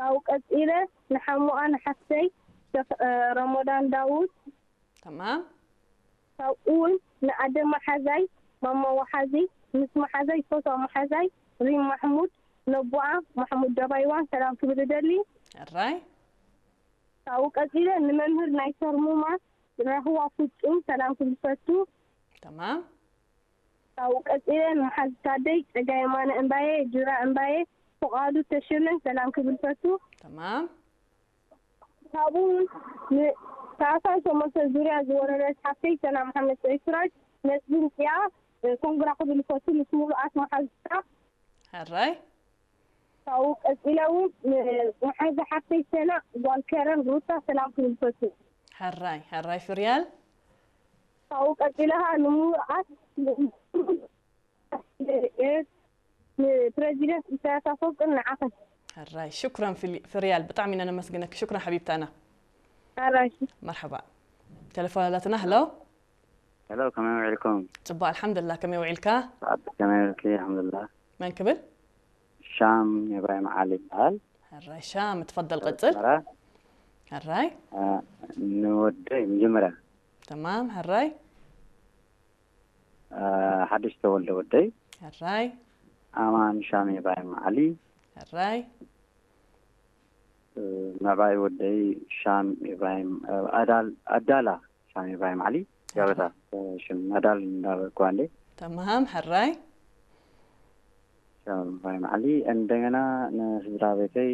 ካብኡ ቀጺለ ንሓሙኣ ንሓፍተይ ሸኽ ረሞዳን ዳውድ። ተማም። ካብኡ እውን ንኣደ መሓዛይ ማማ ወሓዚ፣ ምስ መሓዛይ ዝፈትዋ መሓዛይ ሪም ማሕሙድ፣ ነቦኣ ማሕሙድ ደባይዋን ሰላም ክብል እደሊ። ሕራይ። ካብኡ ቀጺለ ንመምህር ናይ ሰርሙማ ራህዋ ፍጹም ሰላም ክብል ፈቱ። ተማም። ካብኡ ቀጺለ ንመሓዙታተይ ጸጋይ የማነ እምባየ፣ ጁራ እምባየ፣ ፍቓዱ ተሸመ ሰላም ክብል ፈቱ። ተማም። ካብኡ ንታህሳስ ሸሞንተ ዙርያ ዝወረደት ሓፍተይ ሰላም ሓመድ ሰይድ ስራጅ ነቲ ድምጺኣ ኮንግራ ክብል ፈቱ ምስ ምሉኣት መሓዙታ። ሕራይ። ካብኡ ቀጺለ እውን ንመሓዛ ሓፍተይ ሰና ጓል ከረን ሩታ ሰላም ክብል ፈቱ። ሕራይ ሕራይ ፍርያል። ካብኡ ቀጺለ ከዓ ንምሉኣት ንፕረዚደንት ኢሳያስ ኣፈወርቅን ንዓኸን። ሕራይ ሽኩረን ፍሊ- ፍርያል ብጣዕሚ ኢና ነመስግነኪ። ሽኩረን ሓቢብታና። ኣራሽ መርሓባ። ቴሌፎን ኣላትና። ሄሎ። ሄሎ፣ ከመይ ውዒልኩም? ጽቡቕ ኣልሓምዱሊላህ። ከመይ ውዒልካ? ሰዓት ከመይ ውዒልኪ? ኣልሓምዱሊላህ። መን ክብል? ሻም ኢብራሂም ዓሊ ይበሃል። ሕራይ ሻም፣ ትፈደል ቀጽል። ኣስመራ። ሕራይ። እ፣ ንወደይ መጀመርያ ተማም። ሕራይ። እ፣ ሓድሽ ተወልደ ወደይ ሕራይ። ኣማን ሻም ኢብራሂም ዓሊ። ሕራይ። እ፣ ምዕባይ ወደይ ሻም ኢብራሂም፣ እ፣ ኣዳል ኣዳላ ሻም ኢብራሂም ዓሊ። ያበታ ሽም ኣዳል እንዳበልኩዋ እንዴ። ተማም። ሕራይ። ሻም ኢብራሂም ዓሊ። እንደገና ንስድራ ቤተይ፣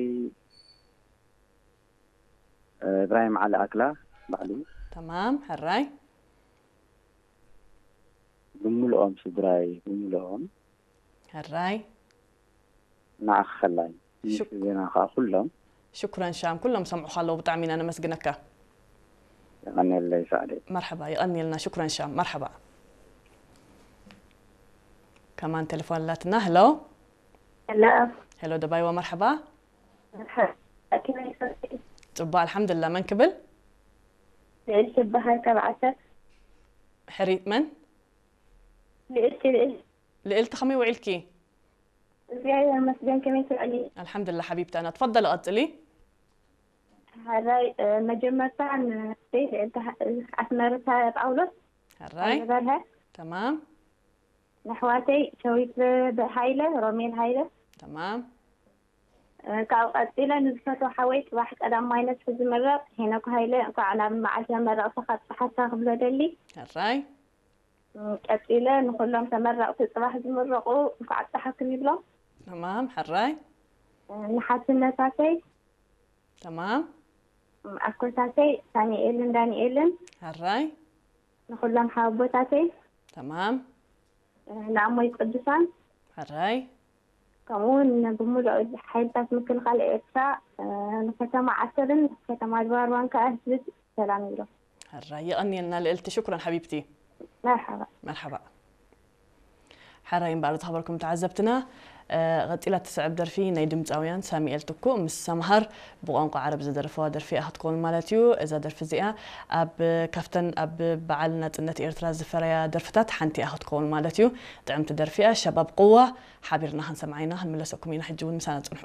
እ፣ ኢብራሂም ዓሊ ኣክላ ባዕሉ። ተማም። ሕራይ። ብምልኦም ስድራይ ብምልኦም ሕራይ። ንዓኺ ከላይ ምስ ሽክ- ዜና ከዓ ኩሎም ሽኩረን ሻም፣ ኩሎም ሰምዑኻ ኣለዉ። ብጣዕሚ ኢና ነመስግነካ። የቐንየለይ ሳዕዲ። መርሓባ። ይቐንየልና። ሽኩረን ሻም። መርሓባ። ከማን ቴሌፎን ኣላትና። ሄሎ። ሄሎ። ሄሎ ደባይዋ፣ መርሓባ። መርሓባ። ከመይ ሰምዒ? ጽቡቕ ኣልሓምዱሊላህ። መን ክብል? ልዕልቲ በሃል ካብ ዓሰብ። ሕሪት መን? ልዕልቲ ልዕል ልዕልቲ፣ ከመይ ውዒልኪ? እግዚኣብሔር ይመስገን። ከመይ ትውዕሊ? ኣልሓምዱሊላህ ሓቢብታና። ትፈደሊ ቀጽሊ። ሓራይ፣ እ፣ መጀመርታ ንደይ ልዕልቲ ሓ-፣ ኣስመርታ ጳውሎስ ሕራይ። ዝበርሀ ተማም። ንኣሕዋተይ ሸዊት ሃይለ፣ ሮሜል ሃይለ። ተማም። እ፣ ካብኡ ቀጺለ ንዝፈትዎ ሓወይ ጽባሕ ቀዳማይ ነፍሒ ዝምረቕ ሄኖክ ሃይለ፣ እንኳዕ ናብ መዓልቲ መመረቕታ ኣብጽሓካ ክብሎ ደሊ። ሕራይ። እ፣ ቀጺለ ንኹሎም ተመረቕቲ ጽባሕ ዝምረቑ እንኳዕ ኣብጽሓኩም ይብሎም። ተማም። ሕራይ። እ፣ ንሓትነታተይ፣ ተማም። እ፣ ኣኮታተይ ሳሚኤልን ዳንኤልን፣ ሕራይ። ንኹሎም ሓወቦታተይ፣ ተማም። እ፣ ንኣሞይ ቅዱሳን፣ ሕራይ። ከምኡ እውን ብሙሉእ ሓይልታት ምክልኻል ኤርትራ፣ እ፣ ንከተማ ዓሰብን ከተማ ድባርዋን ከኣ ህዝቢ ሰላም ይብሎ። ሕራይ። የቐንየልና ልዕልቲ። ሽኩረን ሓቢብቲ። መርሓባ። መርሓባ። ሕራይ እምበኣር ዝኸበርኩም ተዓዘብትና፣ እ፣ ቀጺላ እትስዕብ ደርፊ ናይ ድምጻውያን ሳሚኤል ትኩእ ምስ ሰምሃር ብቋንቋ ዓረብ ዝደረፈዋ ደርፊ እያ ክትከውን ማለት እዩ። እዛ ደርፊ እዚኣ ኣብ፣ ካብተን ኣብ በዓል ናጽነት ኤርትራ ዝፈረያ ደርፍታት ሓንቲ እያ ክትከውን ማለት እዩ። ጥዕምቲ ደርፊ እያ። ሸባብ ቅዋ ሓቢርና ክንሰምዓ ኢና። ክንምለሰኩም ኢና። ሕጂ እውን ምሳና ጽንሑ።